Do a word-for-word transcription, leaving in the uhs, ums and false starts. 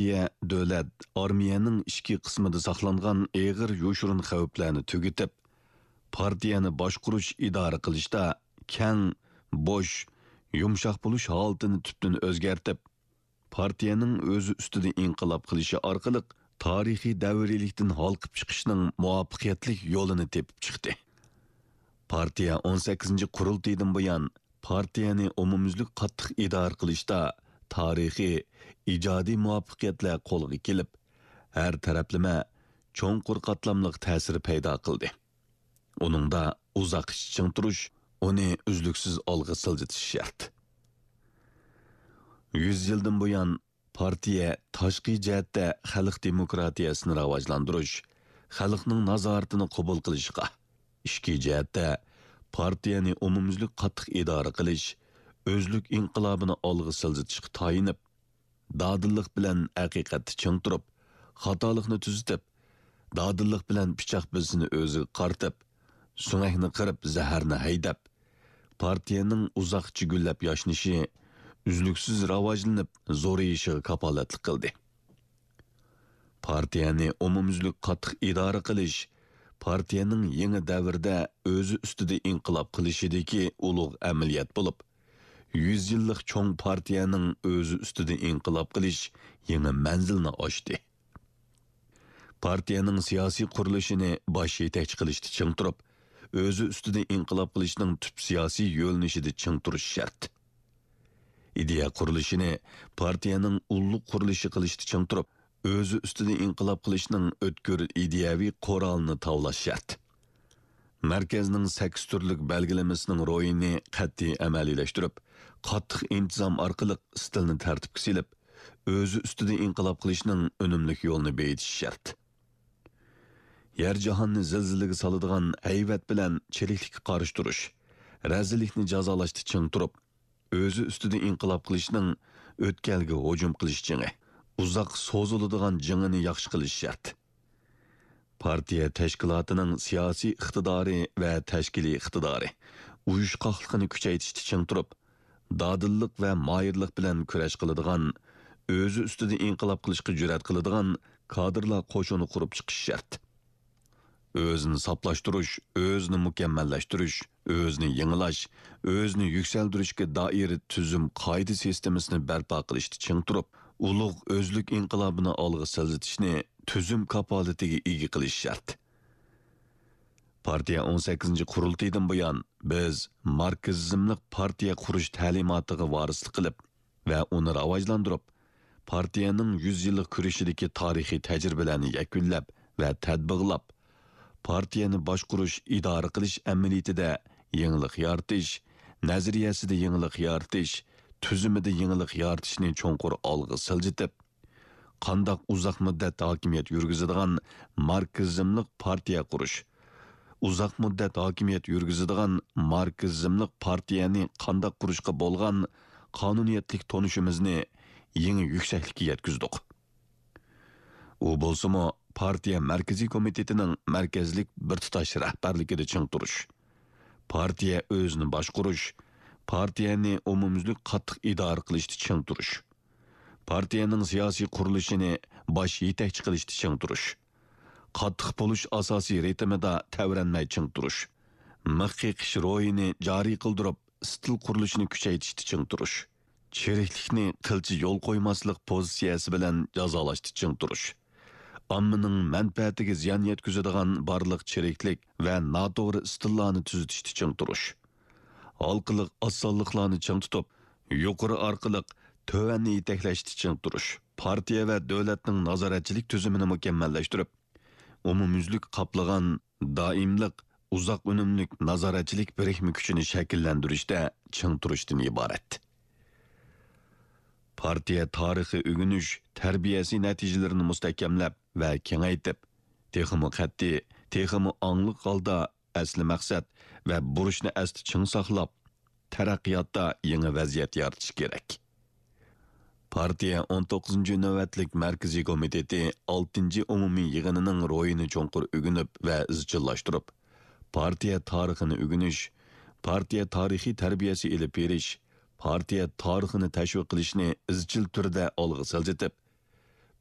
پارتىيە، دۆلەت، ئارمىيەنىڭ ئىچكى قىسمىدا ساقلانغان ئېغىر يوشۇرۇن خەۋپلەرنى تۈگىتىپ، پارتىيەنى باشقۇرۇش، ئىدارە قىلىشتا كەڭ، بوش، يۇمشاق بولۇش ھالىتىنى تۈپتىن ئۆزگەرتىپ، پارتىيەنىڭ ئۆزى ئۈستىدە ئىنقىلاب قىلىشى ئارقىلىق تارىخىي دەۋرىيلىكتىن ھالقىپ چىقىشنىڭ مۇۋەپپەقىيەتلىك يولىنى تېپىپ چىقتى. پارتىيە ئون سەككىزىنچى قۇرۇلتىيىدىن بۇيان پارتىيەنى ئومۇميۈزلۈك قاتتىق ئىدارە قىلىشتا تارىخىي، ئىجادىي مۇۋەپپەقىيەتلەر قولغا كېلىپ، ھەر تەرەپلىمە چوڭقۇر قاتلاملىق تەسىر پەيدا قىلدى. ئۇنىڭدا ئۇزاققىچە چىڭ تۇرۇش، ئۇنى ئۈزلۈكسىز ئالغا سىلجىتىش شەرت. يۈز يىلدىن بۇيان، پارتىيە تاشقى جەھەتتە خەلق دېموكراتىيەسىنى راۋاجلاندۇرۇش، خەلقنىڭ نازارىتىنى قوبۇل قىلىشقا، ئىچكى جەھەتتە پارتىيەنى ئومۇميۈزلۈك قاتتىق ئىدارە قىلىش، ئۆزلۈك ئىنقىلابىنى ئالغا سىلجىتىشقا تايىنىپ، دادىللىق بىلەن ھەقىقەتتە چىڭ تۇرۇپ، خاتالىقنى تۈزىتىپ، دادىللىق بىلەن پىچاق بىلىسىنى ئۆزىگە قارىتىپ، سۆڭەكنى قىرىپ، زەھەرنى ھەيدەپ، پارتىيەنىڭ ئۇزاققىچە گۈللەپ ياشنىشى، ئۈزلۈكسىز راۋاجلىنىپ زورىيىشىغا كاپالەتلىك قىلدى. پارتىيەنى ئومۇميۈزلۈك قاتتىق ئىدارە قىلىش، پارتىيەنىڭ يېڭى دەۋردە ئۆزى ئۈستىدە ئىنقىلاب قىلىشىدىكى ئۇلۇغ ئەمەلىيەت بولۇپ، يۈز يىللىق چوڭ پارتىيەنىڭ ئۆزى ئۈستىدە ئىنقىلاب قىلىش يېڭى مەنزىلنى ئاچتى. پارتىيەنىڭ سىياسىي قۇرۇلۇشىنى باش يېتەكچى قىلىشتا چىڭ تۇرۇپ، ئۆزى ئۈستىدە ئىنقىلاب قىلىشنىڭ تۈپ سىياسىي يۆنىلىشىدە چىڭ تۇرۇش شەرت. ئىدىيە قۇرۇلۇشىنى پارتىيەنىڭ ئۇللۇق قۇرۇلۇشى قىلىشتا چىڭ تۇرۇپ، ئۆزى ئۈستىدە ئىنقىلاب قىلىشنىڭ ئۆتكۈر ئىدىيەۋى قورالىنى تاۋلاش شەرت. مەركەزنىڭ سەككىز تۈرلۈك بەلگىلىمىسىنىڭ روھىنى قەتئىي ئەمەلىيلەشتۈرۈپ، قاتتىق ئىنتىزام ئارقىلىق ئىستىلنى تەرتىپكە سېلىپ، ئۆزى ئۈستىدە ئىنقىلاب قىلىشنىڭ ئۈنۈملۈك يولىنى بېيىتىش شەرت. يەر جاھاننى زىلزىلىگە سالىدىغان ھەيۋەت بىلەن چىرىكلىككە قارشى تۇرۇش، رەزىللىكنى جازالاشتا چىڭ تۇرۇپ، ئۆزى ئۈستىدە ئىنقىلاب قىلىشنىڭ ئۆتكەلگە ھۇجۇم قىلىش جېڭى، ئۇزاق سوزۇلىدىغان جېڭىنى ياخشى قىلىش شەرت. پارتىيە تەشكىلاتىنىڭ سىياسىي ئىقتىدارى ۋە تەشكىلىي ئىقتىدارى، ئۇيۇشقاقلىقىنى كۈچەيتىشتە چىڭ تۇرۇپ، دادىللىق ۋە ماھىرلىق بىلەن كۈرەش قىلىدىغان، ئۆزى ئۈستىدە ئىنقىلاب قىلىشقا جۈرئەت قىلىدىغان كادىرلار قوشۇنى قۇرۇپ چىقىش شەرت. ئۆزىنى ساپلاشتۇرۇش، ئۆزىنى مۇكەممەللەشتۈرۈش، ئۆزىنى يېڭىلاش، ئۆزىنى يۈكسەلدۈرۈشكە دائىر تۈزۈم قائىدە سىستېمىسىنى بەرپا قىلىشتا چىڭ تۇرۇپ، ئۇلۇغ ئۆزلۈك ئىنقىلابىنى ئالغا سىلجىتىشنى تۈزۈم كاپالىتىگە ئىگە قىلىش شەرت. پارتىيە ئون سەككىزىنچى قۇرۇلتىيىدىن بۇيان، بىز ماركسىزملىق پارتىيە قۇرۇش تەلىماتىغا ۋارىسلىق قىلىپ ۋە ئۇنى راۋاجلاندۇرۇپ، پارتىيەنىڭ يۈز يىللىق كۈرىشىدىكى تارىخىي تەجرىبىلەرنى يەكۈنلەپ ۋە تەتبىقلاپ، پارتىيەنى باشقۇرۇش، ئىدارە قىلىش ئەمەلىيىتىدە يېڭىلىق يارىتىش، نەزەرىيەسىدە يېڭىلىق يارىتىش، تۈزۈمىدە يېڭىلىق يارىتىشنى چوڭقۇر ئالغا سىلجىتىپ، قانداق ئۇزاق مۇددەت ھاكىمىيەت يۈرگۈزىدىغان ماركسىزملىق پارتىيە قۇرۇش، ئۇزاق مۇددەت ھاكىمىيەت يۈرگۈزىدىغان ماركسىزملىق پارتىيەنى قانداق قۇرۇشقا بولغان قانۇنىيەتلىك تونۇشىمىزنى يېڭى يۈكسەكلىككە يەتكۈزدۇق. ئۇ بولسىمۇ، پارتىيە مەركىزىي كومىتېتىنىڭ مەركەزلىك بىر تۇتاش رەھبەرلىكىدە چىڭ تۇرۇش، پارتىيە ئۆزىنى باشقۇرۇش، پارتىيەنى ئومۇميۈزلۈك قاتتىق ئىدارە قىلىشتا چىڭ تۇرۇش، پارتىيەنىڭ سىياسىي قۇرۇلۇشىنى باش يېتەكچى قىلىشتا چىڭ تۇرۇش، قاتتىق بولۇش ئاساسىي رىتىمىدا تەۋرەنمەي چىڭ تۇرۇش، مىخ قېقىش روھىنى جارى قىلدۇرۇپ، ئىستىل قۇرۇلۇشىنى كۈچەيتىشتە چىڭ تۇرۇش، چىرىكلىكنى قىلچە يول قويماسلىق پوزىتسىيەسى بىلەن جازالاشتا چىڭ تۇرۇش، ئاممىنىڭ مەنپەئەتىگە زىيان يەتكۈزىدىغان بارلىق چىرىكلىك ۋە ناتوغرا ئىستىللارنى تۈزىتىشتە چىڭ تۇرۇش، ھالقىلىق ئاسانلىقلارنى چىڭ تۇتۇپ، يۇقىرى ئارقىلىق تۆۋەننى يېتەكلەشتە چىڭ تۇرۇش، پارتىيە ۋە دۆلەتنىڭ نازارەتچىلىك تۈزۈمىنى مۇكەممەللەشتۈرۈپ، ئومۇميۈزلۈك قاپلىغان دائىملىق، ئۇزاق ئۈنۈملۈك نازارەتچىلىك بىرىكمە كۈچىنى شەكىللەندۈرۈشتە چىڭ تۇرۇشتىن ئىبارەت. پارتىيە تارىخىي ئۆگىنىش، تەربىيەسى نەتىجىلىرىنى مۇستەھكەملەپ ۋە كېڭەيتىپ، تېخىمۇ قەتئىي، تېخىمۇ ئاڭلىق ھالدا ئەسلى مەقسەت ۋە بۇرچنى ئەستە چىڭ ساقلاپ، تەرەققىياتتا يېڭى ۋەزىيەت يارىتىش كېرەك. پارتىيە ئون توققۇزىنچى نۆۋەتلىك مەركىزىي كومىتېتى ئالتىنچى ئومۇمىي يىغىنىنىڭ روھىنى چوڭقۇر ئۆگىنىپ ۋە ئىزچىللاشتۇرۇپ، پارتىيە تارىخىنى ئۆگىنىش، پارتىيە تارىخىي تەربىيەسى ئېلىپ بېرىش، پارتىيە تارىخىنى تەشۋىق قىلىشنى ئىزچىل تۈردە ئالغا سىلجىتىپ،